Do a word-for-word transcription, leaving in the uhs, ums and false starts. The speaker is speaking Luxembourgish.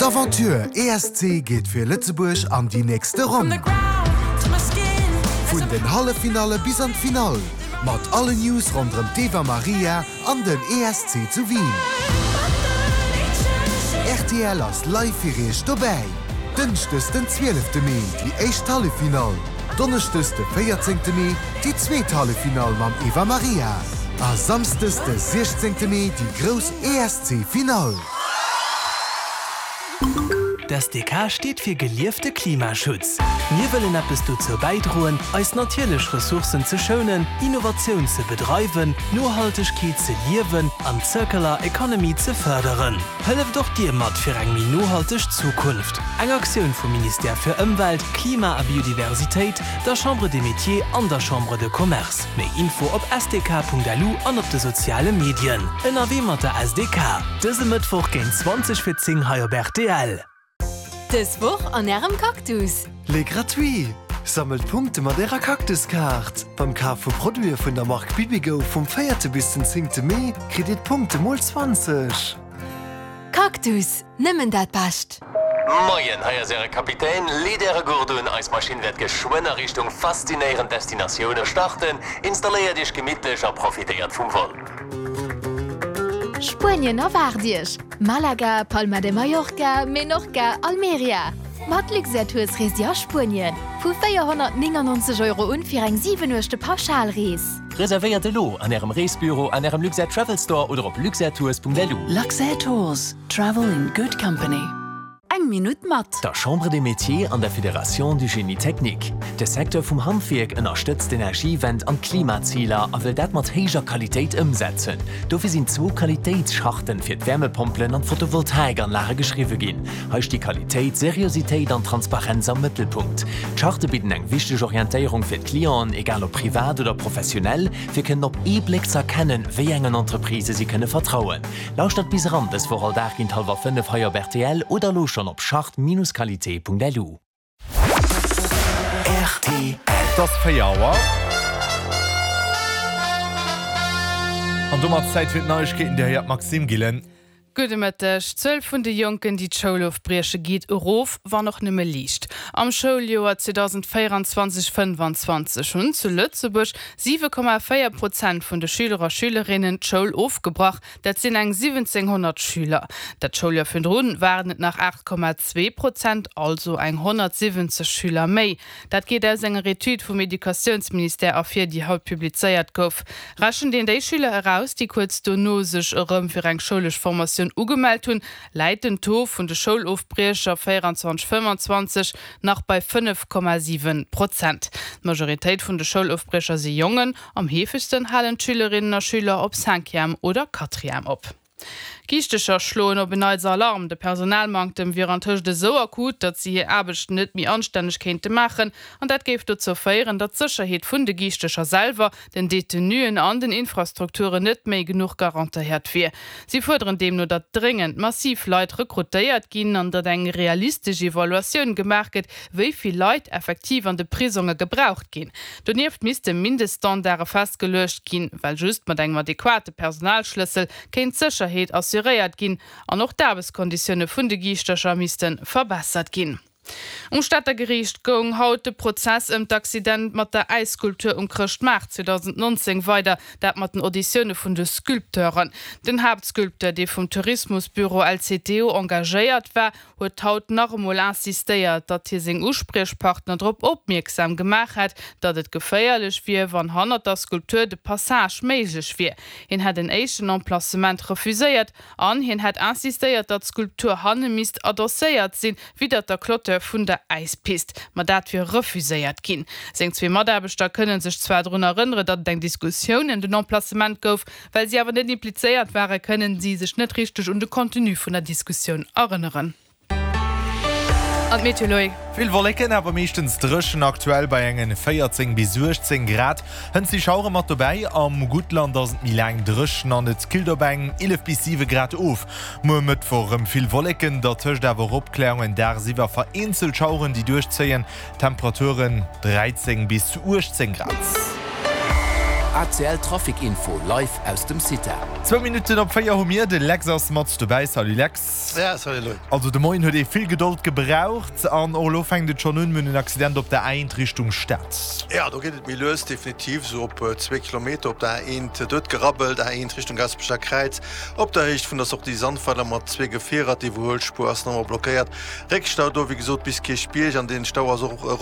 D'Aventure E S C geet fir Lëtzebuerg an déi nächste Ronn. Vun den Halleffinalle bis an d'Finall. Mat alle News ronderëm d'Eva Maria an den E S C zu Wien. R T L ass live fir iech dobäi. Dënschdes den zwielefte Mee déi éischt Halleffinall. Donneschdes de véierzéngte Mee déi zweet Halleffinall mam Eva Maria. A Samschdes de siechzéngte Mee déi grouss E S C-Finall. D S D K steet fir geliefte Klimaschutz. Mir wëllen eppes dozou bäidroen, eis natierlech Ressourcen ze schounen, Innovatioun ze bedreiwen, Nohaltegkeet ze liewen an Circular Economy ze fërderen. Hëlleft och dir mat fir eng méi nohalteg Zukunft. Eng Aktioun vum Ministère fir Ëmwelt, Klima a Biodiversitéit, der Chambre des Métiers an der Chambre de Commerce. Méi Info op S D K Punkt L U an op de soziale Medien. Ënnerwee mat der S D K. Dëse Mëttwoch géint zwanzeg vir zéng hei op R T L. Dës Woch an ärem Cactus. Les gratuits! Sammelt Punkte mat ärer Cactuskaart. Beim Kaf vu Produite vun der Mark Bibigo vum véierte bis den zéngte Mee kritt dir d'Punkte mol zwanzeg. Cactus, nëmmen dat Bescht. Moien, hei ass äre Kapitän. Leet äre Gurt un. Eis Maschinn wäert geschwënn a Richtung faszinéierend Destinatioune starten. Installéiert iech gemittlech a profitéiert vum Vol. Spuenien erwaart iech. Malaga, Palma de Mallorca, Menorca, Almeria. Mat Luxair Tours reest dir a Spuenien. Vu véierhonnertnéngannonzeg Euro un fir eng siwen Nuechte Pauschalrees. Reservéiert elo an ärem Reesbüro, an ärem Luxair Travel Store oder op luxairtours Punkt L U. Luxair Tours. Travel in good company. Eng Minutt mat der Chambre des Métiers an der Fédération du Génie Technique. De Secteur vum Handwierk ënnerstëtzt d'Energiewend an d'Klimaziler a wëll dat mat héijer Qualitéit ëmsetzen. Dofir sinn zwou Qualitéitscharten fir d'Wärmepompelen an d'Photovoltaikanlage geschriwwe ginn. Hei sti Qualitéit, Seriositéit an Transparenz am Mëttelpunkt. D'Charte bidden eng wichteg Orientéierung fir d'Clienten, egal ob privat oder professionell, fir kënnen op ee Bléck ze erkennen, wéi engen Entreprisë si kënne vertrauen. Lauschtert bis eran dës Woch all Dag géint hallwer fënnef hei op R T L oder elo schonn op charte Bindestrich qualité Punkt L U. R T L. Et ass véier Auer. An domat Zäit fir d'Neiegkeeten, Dir héiert d'Maxime Gillen. Gudde Mëtteg. D'Zuel vun de Jonken, déi d'Schoul ofbrieche geet erof, wann och nëmme liicht. Am Schouljoer zweedausendvéierenzwanzeg fënnfanzwanzeg hunn zu Lëtzebuerg siwe Komma véier Prozent vun de Schüler a Schülerinnen d'Schoul ofgebrach. Dat sinn eng siwwenzénghonnert Schüler. Dat Schouljoer virdrun waren et nach aacht Komma zwee Prozent, also eng honnertsiwwenzeg Schüler méi. Dat geet aus enger Etüd vum Educatiounsministère ervir, déi haut publizéiert gouf. Rechent een déi Schüler eraus, déi kuerz dono sech erëm fir eng schoulesch Formatioun ugemellt hunn, läit den Taux vun de Schoulofbriecher véierenzwanzeg fënnfanzwanzeg nach bei fënnef Komma siwe Prozent. D'Majoritéit vun de Schoulofbriecher si Jongen, am heefegsten halen d'Schülerinnen a Schüler op Cinquième oder Quatrième op. Giischtercher schloen op en Neits Alarm. De Personalmanktem wier antëscht esou akut, datt si hir Aarbecht net méi anstänneg kéinte maachen, an dat géif dozou féieren, datt d'Sécherheet vun de Giischtercher selwer, den Detenuen an den Infrastrukturen net méi genuch garantéiert wier. Si fuerderen deemno, datt dréngend massiv Leit rekrutéiert ginn an datt eng realistesch Evaluatioun gemaach gëtt, wéi vill Leit effektiv an de Prisonge gebraucht ginn. Donieft misste Mindeststandarde festgeluecht ginn, well just mat engem adequate Personalschlëssel kéint d'Sécherheet assuréiert ginn an och d'Aarbechtskonditioune vun de Giischtercher misste verbessert ginn. Um Stater Geriicht goung haut de Prozess ëm d'Accident mat der Äisskulptur um Chrëschtmaart zweedausendnonzéng weider, dat mat den Auditioune vun de Sculpteuren. Den Haaptsculpteur, dee vum Tourismusbüro L C T O engagéiert war, huet haut nach emol insistéiert, datt hie seng Uspriechpartner drop opmierksam gemaach hätt, datt et geféierlech wier, wann hannert der Skulptur de Passage méiglech wier. Hien hätt en éischten Emplacement refuséiert an hien hätt insistéiert, datt d'Skulptur hanne misst adosséiert sinn, widder der Clôture vun der Äispist, ma dat wier refuséiert ginn. Seng zwee Mataarbechter kënne sech zwar drun erënneren, datt et eng Diskussioun ëm den Emplacement gouf, well si awer net implizéiert waren, kënnen si sech net richteg un de Contenu vun der Diskussioun erënneren. An d'Meteo, Loïc. Vill Wolleken, awer meeschtens dréchen, aktuell bei engen véierzéng bis uechtzéng Grad. Hënt si Schauere mat dobäi, am Guttland ass et méi laang dréchen an et killt op eng eelef bis siwe Grad of. Muer Mëttwoch erëm vill Wolleken, dertëscht awer och Opkläerungen, dagsiwwer vereenzelt Schaueren déi duerchzéien, Temperaturen dräizéng bis uechtzéng Grad. ACL Trafic Info live aus dem CITA. Zwou Minutten op véier hu mir, de Lex ass mat dobäi. Salut Lex. Ja, salut Loïc. Also de Moien huet ee vill Gedold gebraucht an och elo fänkt et schonn un, mir hunn en Accident op der A eent Richtung Stad. Ja, do geet et méi lues, definitiv, esou op zwee Kilometer op der A eent. Do huet gerabbelt, A eent Richtung Gaasperecher Kräiz, op der Héicht vun der Sortie Sandweiler mat zwee Gefierer. D'Iwwerhuelspuer ass nach ëmmer blockéiert. Réckstau do, wéi gesot, bis Kierchbierg an dee Stau ass och erop.